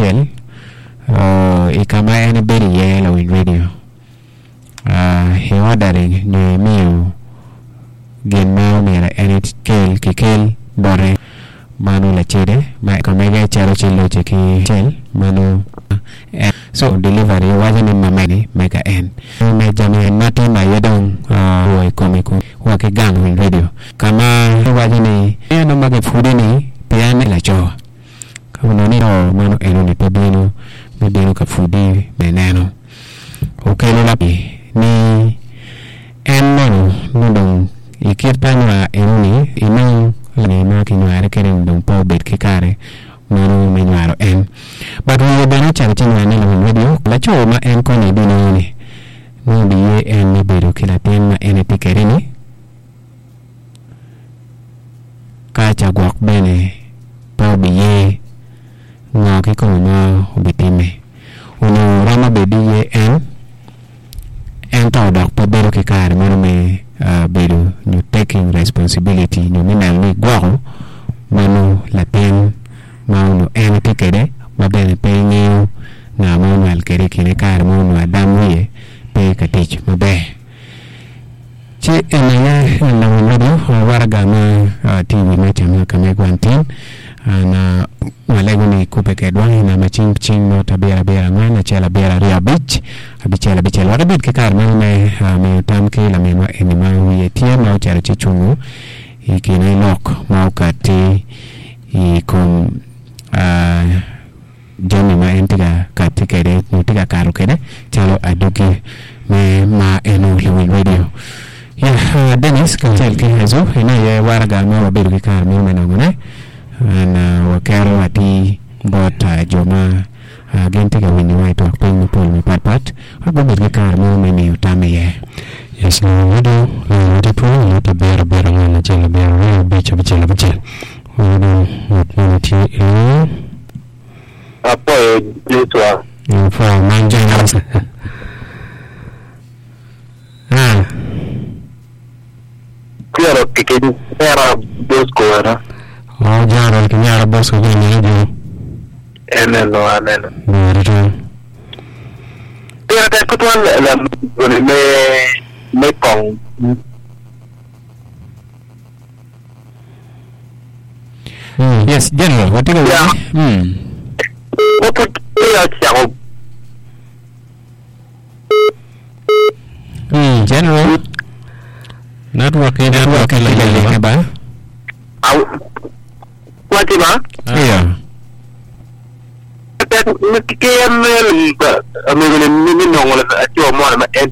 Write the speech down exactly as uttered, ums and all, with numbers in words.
acel uh, i ka ma en ebedo iye lawiny radio uh, i ordering nyo imiyo gin ma omyero en ekel kikel bote mano lacede ma ka mege calo ci loce ki cel mano en so delivery waco ni mameni mega en me jami ma timo aye dong uh, i kome ku wa ki gang winy radio kama waco ni eno ma gipudi ni pien laco ka onongo ni to mano enoni pe bino me bino ka pudi me neno okelo la ni en mono ni dong i kit pa nywar enoni inong ni ma kinyware kede ni dong pe obed ki kare mano me nywaro en but wiye bene ocako ci nywar ni lawiny radio laco ma en koni ebinongo ni nongo biye en me bedo ki latin ma en etye kede ni ka ca gwok bene pe obiye ngo kikome ma obitime onyo romo bed ni ye en ento dok pe bedo ki kare meno me uh, bedo nyo taking responsibility nyo me neno ni gwoko mano latin ma onongo en etye kede ma bene pe ngeyo nga ma onywal kede i kine kare ma onongo adam wiye pe ka tic maber ci en aye lawiny radio waraga ma uh, tye i wi meja ma ka megwa tin an uh, walego ni kubbe kedwa i namba cing cing not abiro abiro angwen acel abiro aryo abic abicel abicel wek ibed ki kare meno me uh, miyo tam ki laminwa eni ma wiye tye ma ocito ci cungo i kine lok ma okati i kom uh, jami ma en tye ka kati kede nyo tye ka kato kede calo adugi me ma eno lawiny radio ya uh, Dennis kacel ki Hezo eno aye waraga ma wabedo ki kare meno me nongone an uh, wakero atir bot uh, jo ma uh, gin tye ka winyowa i twak piny mapol mapatpat wek gubed ki kare meno me miyo tam iye Yes, lawiny radio lawiny radio pwony not abiro abiro angwen acel abiro aryo abic abicel abicel wayudo ngat moni tye i line Apoyo Joshua. Apwoyo man James ah Piero kikinyera Bosco ena. oh Gerald kinyera Bosco ki nene jo Eneno aneno. ber tutwal Pire tek tutwal la me me kong Mm. yes general watye ka Yeah. winyi mm. Mopud peya ocako Mm. general Network ni network network tye ka lenge ba aw- waci ba iya tek ki en amego ni mi nongo laco mo ma en